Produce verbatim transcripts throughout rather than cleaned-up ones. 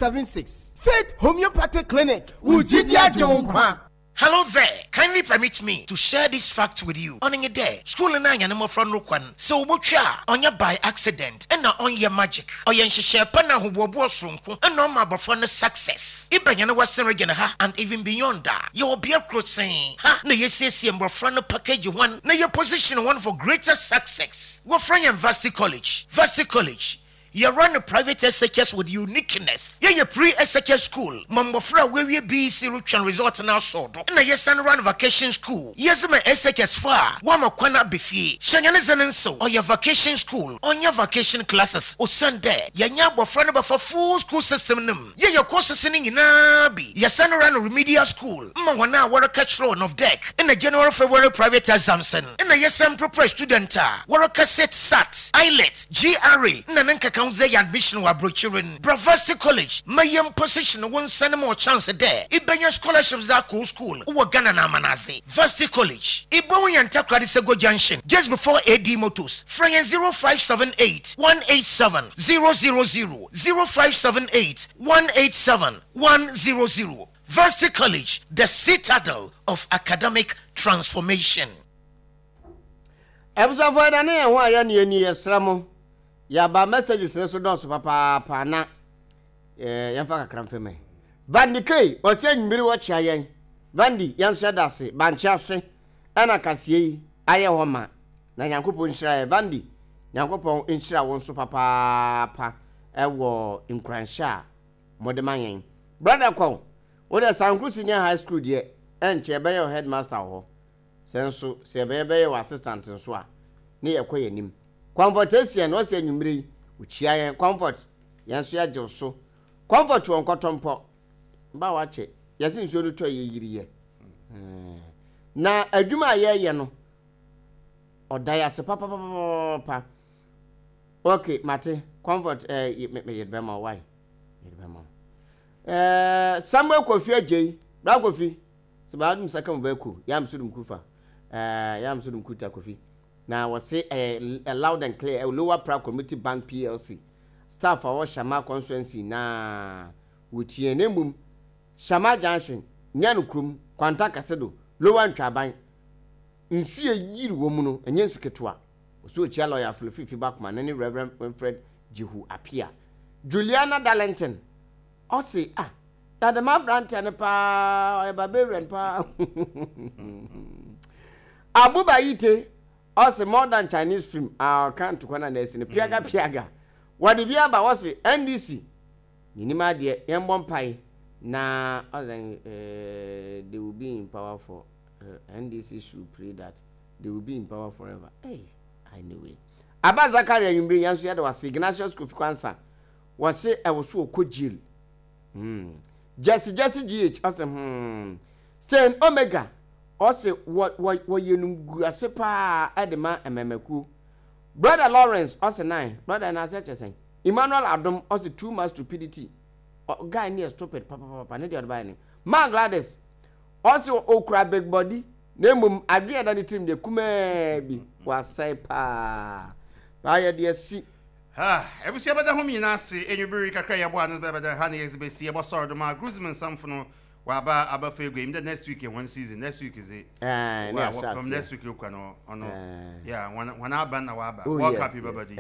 seven six. Faith Homeopathic Clinic, wo gyidi agye wo nkwa. Hello there. Kindly permit me to share this fact with you. On day, school na anya mmɔfra no kwan sɛ wobɔtwa a ɔnyɛ by accident ɛna ɔnyɛ magic. Ɔyɛ nhyehyɛ pa na ahoboaboa soronko ɛna ɔma abɔfra no success. Ibɛnya no Western Region ha and even beyond that. Yɛwɔ bea koro sen ha na yɛsiesie mmɔfra no package one na yɛ position one for greater success. Wɔfrɛ yɛn Varsity College. Varsity College. You run a private S H S with uniqueness. Yeah, your pre S H S school. Mmɔfra wɔawie B E C retwɛn result na asɔ do. Na yɛsan run vacation school. Yɛdze ma S H S fa a wɔama kwan aba fie. Hyɛnyɛ ne dze ne nsew. Ɔyɛ vacation school. Ɔnyɛ vacation classes. Osiane dɛ yɛnyɛ abɔfra no bɛfa full school system no mu. Yɛyɛ courses no nyinaa bi. Yɛsan run remedial school. Ma wɔn a wɔreka kyerɛw NOVDEC. Ɛna January, February private exams no. Ɛna yɛsan prepare student a wɔreka sit SAT, IELTS, G R E, na ne nkeka ho dze yɛ admission wɔ aburokyire no. Bravasti College ma yɛn position wo nsa no ma ɔ chance dɛ ibɛnya scholarships dze akɔ school wɔ Ghana na amanadze. Varsity College. Ibohu yɛn Takoradi Sego Junction just before A D Motors. Frɛ yɛn zero five seven eight one eight seven zero zero zero, zero five seven eight one eight seven one zero zero. Varsity College, the citadel of academic transformation. Abusuafoɔ, ɛda ne yɛn ho a yɛne yɛni yɛsrɛ mo, yɛaba. Messages ne so dɔɔso papaapa na eh, yɛmfa kakra mfɛ mɛ Vandi K ɔsɛ anwummere wɔkyea yɛn. Vandi, yɛn nso yɛda ase. Bankye ase ɛna kaseɛ yi ayɛ hɔ ma na Nyankopɔn nhyira yɛ. Vandi, Nyankopɔn nhyira wo nso papaapa ɛwɔ nkuranhyɛ a mode ma yɛn. Brother kɔn wode Sankro Senior High School deɛ, ɛnkyɛ ɛbɛyɛ wo headmaster wɔ hɔ. Sɛ nso sɛ ɛbɛyɛ bɛyɛ wɔ assistant nso a ne yɛkɔ yɛn anim. Comfort Asian ɔsɛ anwummerɛ yi ɔkyia yɛn. Comfort, yɛn nso yɛagye wo so. Comfort wɔ nkɔtɔmpɔ ba wakyɛ yɛse nsuo no tɔ yɛ yiriyɛ na adwuma a yɛreyɛ no ɔda yɛ ase papapapapa. Ok, mate. Comfort, ɛɛ yɛde bɛma wo wae, yɛde bɛma wo. ɛɛ samuel Kofi Agyei, bra Kofi sɛ baa dum saka mu bɛko yam so dum kufa ɛɛ yam so dum kuta Kofi na wɔse ɛyɛ loud and clear. Ɛwɔ Lower Pra Community Bank P L C staff a wɔwɔ Shama constituency na wɔtie ne mmom Shama Junction, Nyɛ kurom Kwanta Kɛse do Lower Ntwaban nsu yɛ yiri wɔ mu no, ɛnyɛ nsu ketewa. Ɔsɛ okyia lawyer Filofifi Bakoma ne ne Reverend Winfred Jehu Apia. Juliana Darlington ɔse, ah, dadama aberanteɛ no paa, ɔyɛ barbarian paa. Abuba Yite ɔse more than Chinese film a ɔka ntokwa no a na asi no piaga piaga wɔde bi aba. Wɔse N D C n'anim adeɛ, yɛmbɔ mpae na ɔsɛ eh, they will be in power for uh, N D C should pray that they will be in power forever. Hey, anyway, Aba Zakari, anwummere yɛn nso yɛde wase. Ignatius Kofi Kwansa wɔse ɛwɔ so ɔkɔ jail. hmm. Jesse Jesse G H ɔse hmm. Stain Omega ɔse wɔyɛ no gu ase paa ɛde ma mmɛmɛkuo. Brother Lawrence ɔse nine brother na ase kyerɛ sɛn. Emmanuel Adom ɔse too much stupidity, guy ne yɛ stupid papapapa ne deɛ ɔde baayɛ ne. Ma Gladys ɔse okura big body na mmom adwene ɛda ne tirim deɛ kumaa bi, wasɛe paa paa yɛ deɛ si. Abusua, bɛda ho nyinaa ase. Enwubere kakra yɛbɔ ano bɛbɛda ha ne yɛdze bɛsi yɛbɔsɔre do ma Gruzim nsamfo no waba abafa egua im dɛ next week yɛ one season, next week dze wa from next week okwa no ɔno yeah, wɔn wɔn aba na waba World Cup yi bɛba di.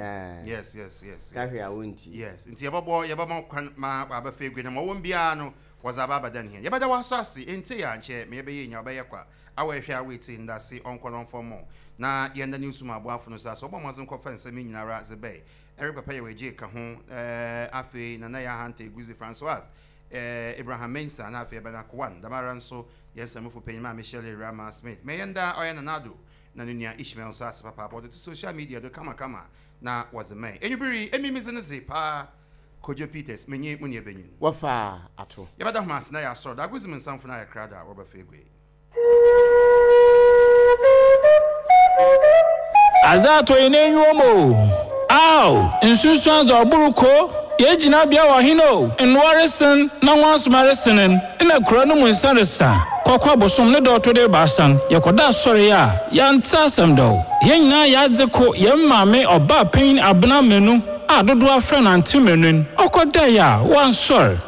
yes yes yes Kahwe a wonti. Yes, nti yɛbɛbɔ yɛbɛma kwan ma waba fa egua na ma wɔn biara no wɔdze aba abɛda ne hɛn. Yɛbɛda wɔaso ase nti yɛ ankyɛ ma yɛbɛyɛ nya ɔbɛyɛ kwa awɔ ɛhwɛ awɔ eti ndase ɔnkɔ no ɔmfɔ mɔ na yɛn da ne nsum aboafo no so ase ɔbɔ mmɔdzen kɔfa nsɛm yi nyinara dze bɛɛ Eric Papa yɛ wɔagye ka ho. ɛɛ afei Nana yɛ Ahanta Eguzi Francois, ɛɛ Abraham Mensa na afei Ɛbɛn Akowan damara nso yɛn nsɛmfo panyin maa Michelle Rama Smith mɛ yɛn da ɔyɛ Nanado na ne nua Ishmael nso ase papa wɔde to social media do kamakama na wɔdze mɛn enwubiri emi mi dze ne dze paa Kojo Peters menye mu nua benyin Wɔfa ato. Yɛbɛda ho ase na yɛ asɔrɔ da agozim nsamfo na ayɛ krado a wɔbɛfa egua yi. Adze atɔ yi n'enyiwa mu o, aw nsunsuan dze ɔboro ko yɛgyina bea wɔ hen o, nnoa resen na nwansoma resenen na kuro no mu nsa resa kɔkɔ abosom ne dɔɔto de baasa yɛkɔda asɔre a yɛante asɛm dɔw. Yɛn nyinaa yɛadze ko yɛn maame ɔbaa panyin Abena Menu. A dodoɔ afrɛ no Auntie Menu ɔkɔdaeɛ a wansɔre.